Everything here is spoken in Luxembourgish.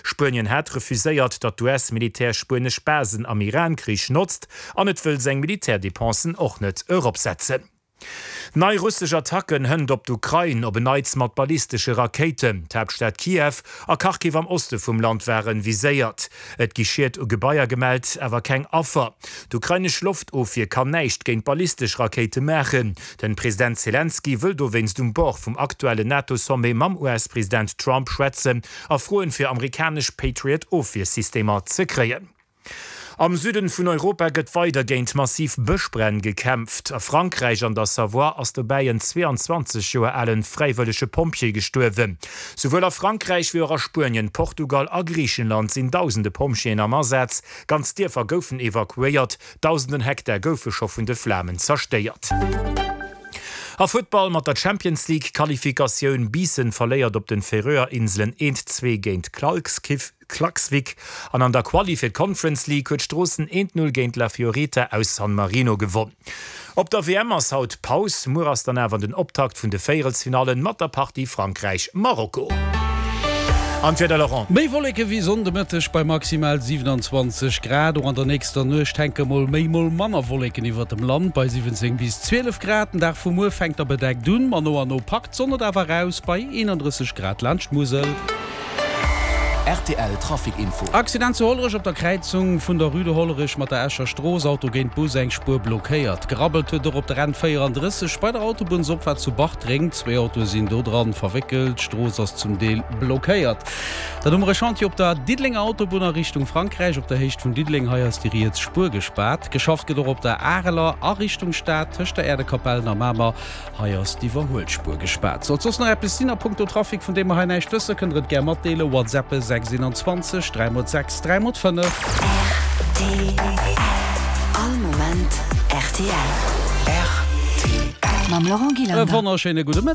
Spuenien hat refuséiert, datt d'US-Militär spuenesch Basen am Iran-Krich notzt an et wëll seng Militärdepensen och net eropsetzen. Nei russesch Attacken hënt op d'Ukrain, op en Neits mat ballistesche Rakéiten. D'Haaptstad Kiew a Kharkiv am Oste vum Land ware viséiert. Et gi Schied u Gebaier gemellt, awer keng Affer. D'ukrainesch Loftofwier kann näischt géint ballistesch Rakéite maachen. Den President Selenskyj wëll dowéinst um Bord vum aktuellen NATO-Sommet mam US-President Trump schwätzen a froen, fir amerikanesch Patriot-Ofwiersystemer ze kréien. Am Süden vun Europa gëtt weider géint massiv Bëschbränn gekämpft. A Frankräich an der Savoie ass dobäi en 22 Joer alen fräiwëllege Pompjee gestuerwen. Souwuel a Frankräich wéi och a Spuenien, Portugal a Griichenland sinn dausende Pompjeeën am Asaz. Ganz Dierfer goufen evakuéiert, dausenden Hektar goufe scho vun de Flamen zerstéiert. A Futtball mat der Champions League Qualifikatioun, Biissen verléiert op den Färöer Inselen 1, 2 géint Klaksvik an an der Quali fir d'Conference League huet Stroossen 1, 0 géint La Fiorita aus San Marino gewonn. Op der WM ass haut Paus, muer ass dann awer den Optakt vun de Véierelsfinallen mat der Partie Frankräich-Marokko. An d'Wieder, Laurent? Méi Wolleke wéi Sonn de Mëtteg bei maximal 27 Grad. Och an der nächster Nuecht hänke mol méi, mol manner Wolleken iwwert dem Land bei 17 bis 12 Grad. Den Dag vu muer fänkt da bedeckt un, ma no an no packt d'Sonn et awer eraus bei 31 Grad laanscht d'Musel. Rtl Trafic Info. Accident zu Hollerech op der Kräizung vun der Rue de Hollerech mat der Escher Strooss, Auto géint Bus, eng Spuer blockéiert. Gerabbelt huet och op der N 34 bei der Autobunnsopfaart zu Bartreng. Zwéi Autoe sinn do dran verwéckelt, d'Strooss ass zum Deel blockéiert. Dann hu mer e Chantier op der Diddelenger Autobunn a Richtung Frankräich op der Héicht vun Diddeleng. Hei ass déi riets Spuer gespaart. Geschafft gëtt och op der Areler a Richtung Stad tëscht der Äerdekapellen a Mamer. Hei ass d'Iwwerhuelspuer gespaart. Sollt soss nach eppes sinn a punkto Trafic, vun deem mer hei näischt wëssen, kënnt der et gär matdeelen. WhatsAppe 6 21 3 mol 6 3 mol 5. Rtl. All Moment rtl. Rtl. Mam Laurent E Gillander. wonnerschéine gudde Mëtteg.